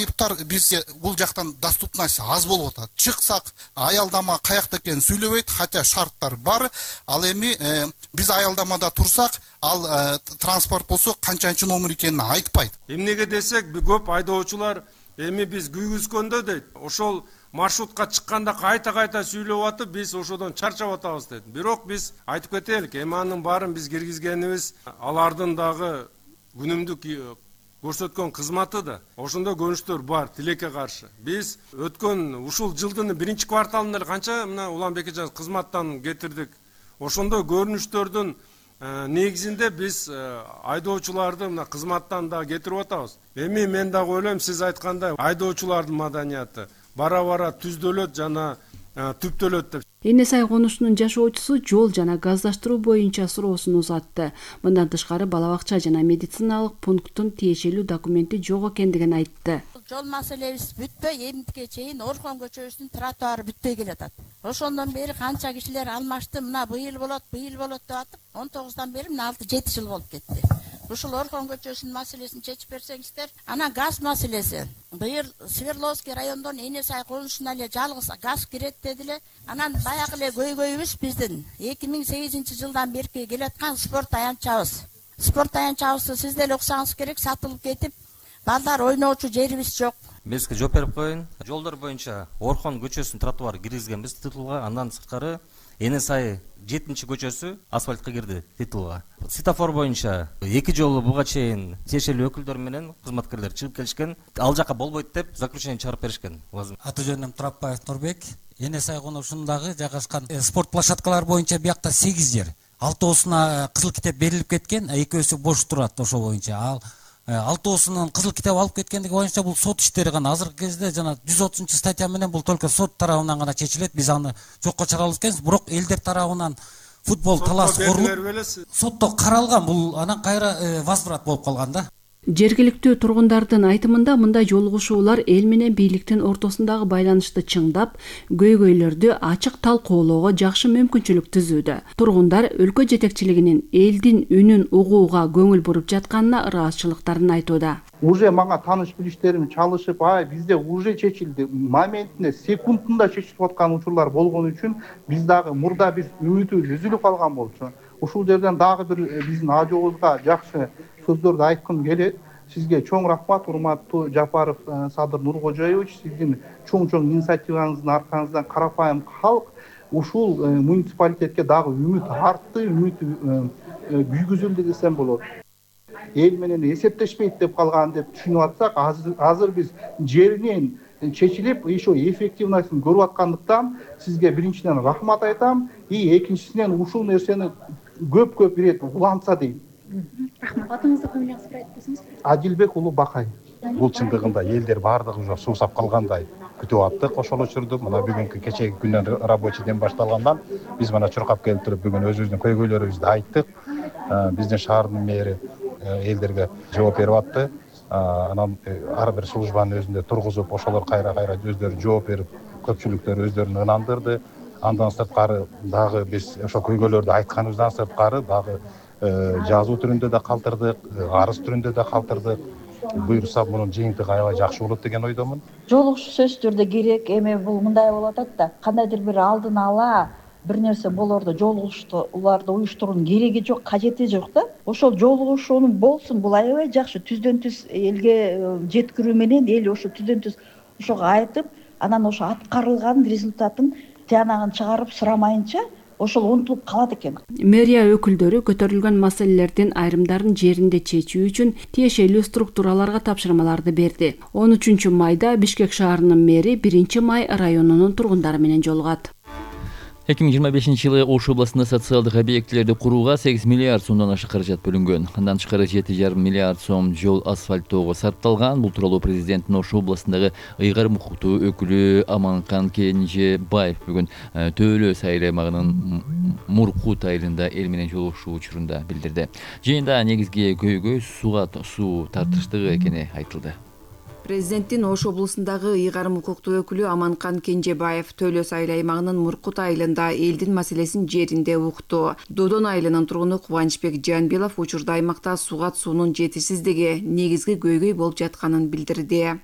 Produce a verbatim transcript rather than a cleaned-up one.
айыптар бизде бул жактан доступность аз болуп атат. Чыксак аялдама каякта экенин сүйлөбөйт, хотя шарттар бар. Ал эми биз аялдамада турсак, ал транспорт болсо канчанчы номер экенин айтпайт. Эмнеге десек, көп айдоочулар эми биз күйгүзгөндө дейт, ошол маршрутка чыкканда кайта-кайта сүйлөп атып, биз ошодон чарчап атабыз дейт. Бирок биз айтып кетелик, эми анын баарын биз киргизгенибиз алардын дагы күнүмдүк көрсөткөн кызматы да. Ошондо көрүнүштөр бар тилекке каршы. Биз өткөн ушул жылдын биринчи кварталында эле канча мына Улан Бекежан кызматтан кетирдик. Ошондо көрүнүштөрдүн негизинде биз айдоочуларды мына кызматтан да кетирип атабыз. Эми мен дагы ойлойм, сиз айткандай айдоочулардын маданияты бара-бара түздөлөт жана түптөлөт деп. Эне сай конушунун жашоочусу жол жана газдаштыруу боюнча суроосун узатты. Мындан тышкары бала бакча жана медициналык пункттун тиешелүү документи жок экендигин айтты. Жол маселебиз бүтпөй, эмтике чейин Орхон көчөсүнүн тротуары бүтпөй келатат. Ошондон бери канча кишилер алмашты, мына быйыл болот, быйыл болот деп атып, он тогуздан бери мына алты жети жыл болуп кетти. Ушул Орхон көчөсүнүн маселесин чечип берсеңиздер, анан газ маселеси. Быйыл Свердловский райондон Эне сай конушуна эле жалгыз газ кирет дедиле. Анан баягы эле көйгөйүбүз биздин эки миң сегизинчи жылдан бери келаткан спорт аянтчабыз. Спорт аянтчабызды сиз деле уксаңыз керек, сатылып кетип, балдар ойноочу жерибиз жок. Бизге жооп берип коюн. Жолдор боюнча Орхон көчөсүнүн тротуары киргизгенбиз титулга, андан сырткары Эне сай жетинчи көчөсү асфальтка кирди титулга. Светофор боюнча эки жолу буга чейин тиешелүү өкүлдөр менен кызматкерлер чыгып келишкен. Ал жака болбойт деп заключение чыгарып беришкен. Аты жөнүм Турапбаев Нурбек. Эне сай конушундагы жайгашкан спорт площадкалары боюнча биякта сегиз жер. Алтоосуна кызыл китеп берилип кеткен, экөөсү бош турат ошо боюнча. Ал алтоосунун кызыл китеп алып кеткендиги боюнча бул сот иштери гана. Азыркы кезде жана жүз отузунчу статья менен бул только сот тарабынан гана чечилет. Биз аны жокко чыгарабыз экенбиз. Бирок элдер тарабынан футбол талаш курулуп сотто каралган, бул анан кайра возврат болуп калган да. Жергиликтүү тургундардын айтымында мындай жолугушуулар эл менен бийликтин ортосундагы байланышты чыңдап, көйгөйлөрдү ачык талкуулоого жакшы мүмкүнчүлүк түзүүдө. Тургундар өлкө жетекчилигинин элдин үнүн угууга көңүл буруп жатканына ыраазычылыктарын айтууда. Уже мага тааныш билиштерим чалышып, ай бизде уже чечилди, моментинде, секундунда чечилип аткан учурлар болгон үчүн биз дагы мурда бир үмүтүбүз үзүлүп калган болчу. Ушул жерден дагы бир биздин ажообузга жакшы сөздөрдү айткым келет. Сизге чоң рахмат, урматтуу Жапаров Садыр Нуркожоевич. Сиздин чоң-чоң инициативаңыздын аркасынан карапайым калк ушул муниципалитетке дагы үмүт артты, үмүт күйгүзүлдү десем болот. Эл менен эсептешпейт деп калган деп түшүнүп атсак, азыр, азыр биз жеринен чечилип, ошо эффективностун көрүп аткандыктан сизге биринчиден рахмат айтам, и экинчисинен ушул нерсени көп-көп ирет улантса дейм. Рахмат. Атыңызды коюңуз, айтып берсеңиз. Адилбек уулу Бакай. Бул чындыгында элдер баардыгы уже суусап калгандай күтүп аттык ошол учурду. Мына бүгүнкү кечеги күндөн рабочий ден башталгандан биз мына чуркап келип туруп бүгүн өзүбүздүн көйгөйлөрүбүздү айттык. Биздин шаардын мэри элдерге жооп берип атты. Анан ар бир службанын өзүндө тургузуп, ошолор кайра-кайра өздөрү жооп берип, көпчүлүктөр өздөрүн ынандырды. Андан сырткары дагы биз ошо көйгөйлөрдү айтканыбыздан сырткары дагы жазуу түрүндө да калтырдык, арыз түрүндө да калтырдык. Буйрса мунун жыйынтыгы аябай жакшы болот деген ойдомун. Жолугушуу сөзсүз түрдө керек. Эми бул мындай болуп атат да, кандайдыр бир алдын ала бир нерсе болорду, жолугушууларды уюштуруунун кереги жок, кажети жок да. Ошол жолугушуунун болсун, бул аябай жакшы. Түздөн түз элге жеткирүү менен эл ошо түздөн түз ошого айтып, анан ошо аткарылган результатын тиянагын чыгарып сурамайынча ошол унутулуп калат экен. Мэрия өкүлдөрү көтөрүлгөн маселелердин айрымдарын жеринде чечүү үчүн тиешелүү структураларга тапшырмаларды берди. он үчүнчү майда Бишкек шаарынын мэри биринчи май районунун тургундары менен жолугат. эки миң жыйырма бешинчи жылы Ош областында социалдык объектилерди курууга сегиз миллиард сомдон ашык каражат бөлүнгөн. Андан тышкары жети жарым миллиард сом жол асфальттоого сарпталган. Бул тууралуу президенттин Ош областындагы ыйгарым укуктуу өкүлү Аманкан Кенжебаев бүгүн Төөлө сайыл аймагынын Муркут айылында эл менен жолугушуу учурунда билдирди. Жыйында негизги көйгөй сууга суу тартыштыгы экени айтылды. Президенттин Ош облусундагы ыйгарым укуктуу өкүлү Аманкан Кенжебаев Төөлө сайыл аймагынын Муркут айылында элдин маселесин жеринде укту. Додон айылынын тургуну Кубанычбек Жанбилов учурда аймакта сууга суунун жетишсиздиги негизги көйгөй болуп жатканын билдирди.